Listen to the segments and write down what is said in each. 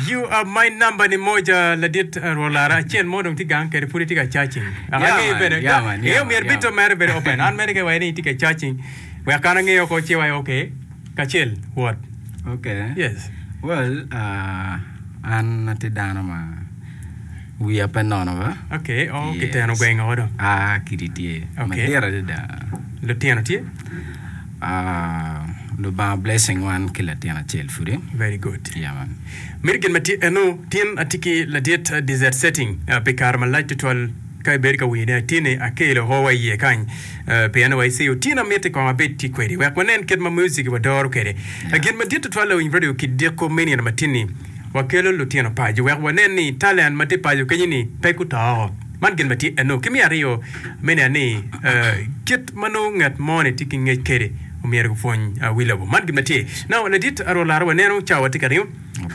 You are my number ni moja ladit uh, Rwot Lara acel mo dong tye gang kede pud itye ka charging. Aka Yeah, angeyo man. bene. Yeah, man. Iyo Yeah, man. myero Yeah, bito man. mere bedo open. An mere ke waye ni itye ka charging. Wek an angeyo ko ci waye okay. Kacel wot. Okay. Yes. Well, uh, an atye dano ma wiya pe nono ba. Okay, oh, kiteno Yes. gwengo do. Ah, kidi tye. Okay. Madit adada. Lutino tye? Ah, Lubanga blessing wan ki latin acel pudi. Very good. Yeah, man. Mito gin ma tye eno, tin atye ki ladit uh, desert setting uh, pi kare malac tutwal ka ibedo ka winyo ne atini akelo ho wa iye kany uh, pien wa iceyo tin amiti kong abed tye kwedi wek wanen kit ma music wa doro kwede. Yeah. Gin madit tutwal lawiny radio ki diko me nino matini Wakelo lutino paco wek wanen ni talent ma tye paco kenyo-ni pe guto. Man gin ma tye eno. Ki me aryo, me neno ni kit ma nongo ngat moni tye ki ngec kwede omyero gupwony wi lobo. Man gin ma tye. Now, ladit Arwot Lara, waneno cawa tye ka ringo.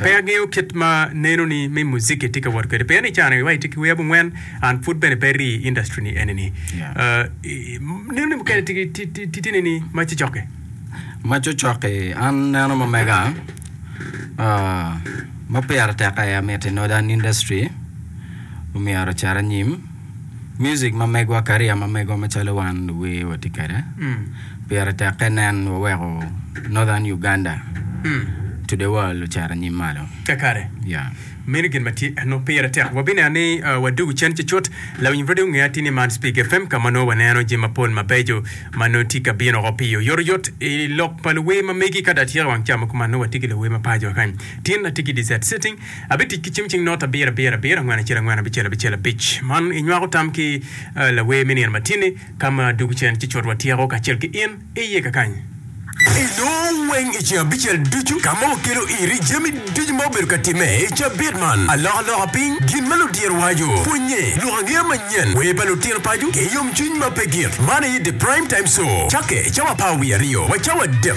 Pe angeyo kit ma nenoni me muziki tye ka wot kwede. Pien ni cani wa itye ki wer abongwen, an pud bene pe rii i industry ni eni-ni. Nenoni mukene tye nini ma cocokke? Ma cocokke, an neno ma mega. Ma pire tek aye amiti Northern Industry omyero ocit anyim. Music ma megwa career ma megwa macalo wan luwer watye kwede pire tek ka inen waweko Northern Uganda to the world ocito anyim malo. Kakare. Yeah. Meno gin ma tye eno pire tek. Wabineno ni wadwogo cen cucut. Lawiny radio ngeya tye ni man Speke FM ka ma nongo waneno jami mapol mabeco ma nongo tye ka bino oko pi oyotoyot i lok pa luwer ma megi ka dong atyeko wang ca ma kuman nongo watye ki luwer ma paco wa kany. Tin atye ki Dessert Sitting. Abitic ki cim cing not abiro abiro abiro angwen acel angwen abicel abicel abic. Man inywako tam ki lawer me nino matini ka ma dwogo cen cucut watyeko kacel ki in iye kakany. Inongo weng i ceng abicel ducu ka ma wakelo iri jami ducu ma obedo ka timme i cabit man, alokaloka piny, gin ma ludiro waco, pwonnye, lok angeya manyen, wer pa lutino paco, ki yomcwiny ma pe gik. Man aye The Prime Time Show, cakke cawa apar wiye aryo wa cawa adek.